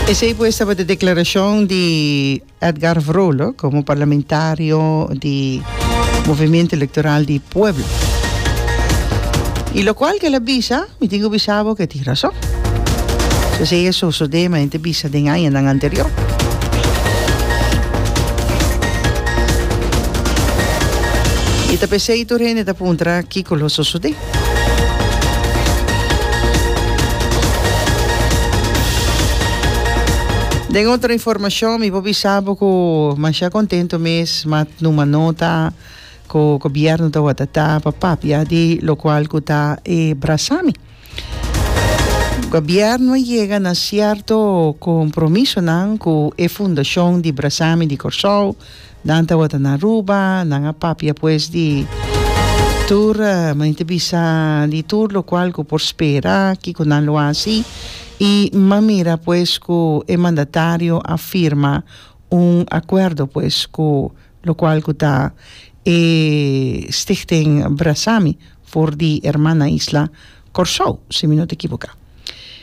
Esey pues tabata e declaracion di Edgar Vrolijk como parlamentario di Movimiento Electoral di Pueblo. Y locual que el a bisa, mi tin cu bisa bo que tin razon. Esey a sosode ma hende bisa den añanan anterior. Y ta pesey tur hende ta puntra kico lo sosode. Den otro informacion mi por bisa bo cu masha contento mes ma numa nota cu gobierno tawata ta pa papia di locual cu ta e brasami. Gobierno a yega na cierto compromisonan cu e fundacion di Brasami di Corsou. Nan tabata na Aruba, nan a papia pues di tur, mi ta bisa di tur locual cu por spera, kico nan lo haci. Y m'a mira pues cu e mandatario a firma un acuerdo pues cu locual cu ta e Stichting Brasami for di hermana isla Corsou, si mi no ta ekiboca.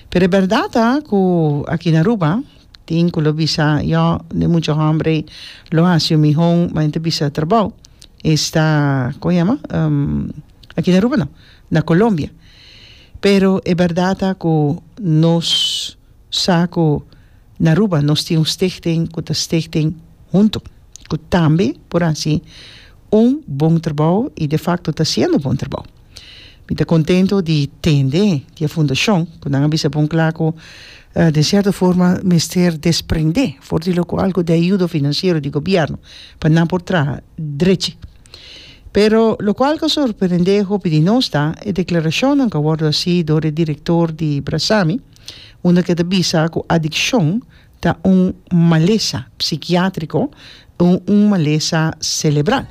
Pero e berdad ta cu aki na Aruba, Tin ku lo bisa, Yo, de mucho hombre lo hasi un mihon, ma e ta bisa trabou. Esta, kon yama? Aki na Aruba no, na Colombia. Pero e bèrdat ta ku nos sa ku na Aruba nos tin un stichting ku ta Stichting Hunto, ku tambe por hasi un bon trabou i defakto ta hasiendo bon trabou. Mi ta contento di tende di e fundacion cu nan a bisa bon cla cu den cierto forma mester desprende for di locual cu di ayudo financiero di gobierno pa nan por traha drechi. Pero locual cu a sorprende hopi di nos ta e declaracionnan cu a wordo haci door e director di Brasami unda cu e ta bisa cu adiccion ta un malesa psikiatriko o un malesa selebral.